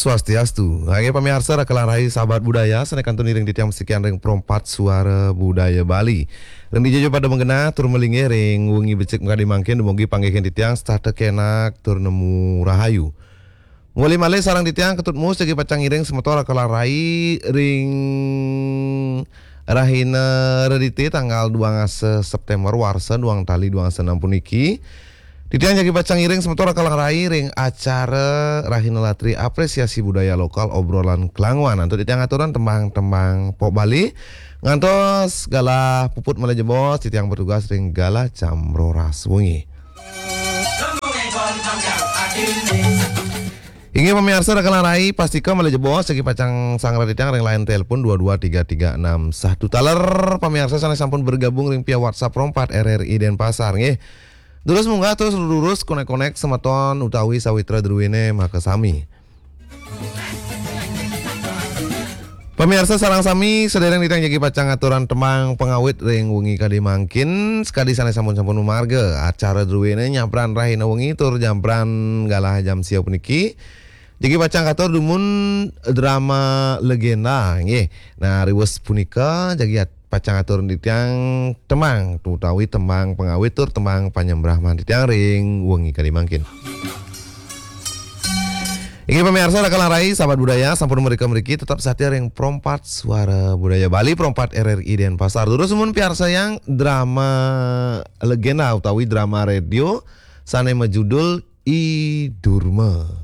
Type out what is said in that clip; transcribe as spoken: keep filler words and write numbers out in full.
Swastiastu. Inggih pamiarsa, raka lan rai sahabat budaya, sané kantun ngiring titiang masikian ring Pro empat Suara Budaya Bali. Ring dija ja pada magenah tur malinggih ring wengi becik makadi mangkin, dumugi panggihin titiang setata kénak tur nemu rahayu. Mawali malih sareng titiang Ketut Mus jagi pacang ngiring semeton raka lan rai ring rahina Redité tanggal duang dasa Séptémber warsa duang tali duang dasa enam puniki. Titiang jagi pacang ngiring semeton raka lan rai ring acara Rahina Latri Apresiasi Budaya Lokal Obrolan Kelanguan. Antuk titiang aturan tembang-tembang pop Bali. Ngantos galah puput malih jebos, titiang bertugas ring galah jam roras wengi. Inggih pamiarsa, raka lan rai, pastika malih jebos jagi pacang sanggra titiang ring line telepon dua dua tiga tiga enam satu. Taler pamiarsa sané sampun bergabung ring via WhatsApp Pro empat R R I Denpasar, nggih. Durus munggah, terus durus konek-konek semeton utawi sawitra druéné makasami. Pamiarsa sareng sami, sadéréng titiang jagi pacang ngaturang tembang pangawit ring wengi kadi mangkin, sakadi sané sampun-sampun mamargi acara druéné nyabran rahina wengi tur nyabran galah jam sia puniki. Jagi pacang katur dumun drama legenda, nggih. Nah, riwes punika jagi at-, pacang atur titiang tembang, utawi tembang pangawit tur tembang panyembrahman titiang ring wengi kadi mangkin. Inggih pamiarsa, raka lan rai, sahabat budaya, sampun mrika mriki tetep satia ring Pro empat Suara Budaya Bali, Pro empat R R I Denpasar. Durus dumun piarsayang drama legenda utawi drama radio sané majudul I Durma.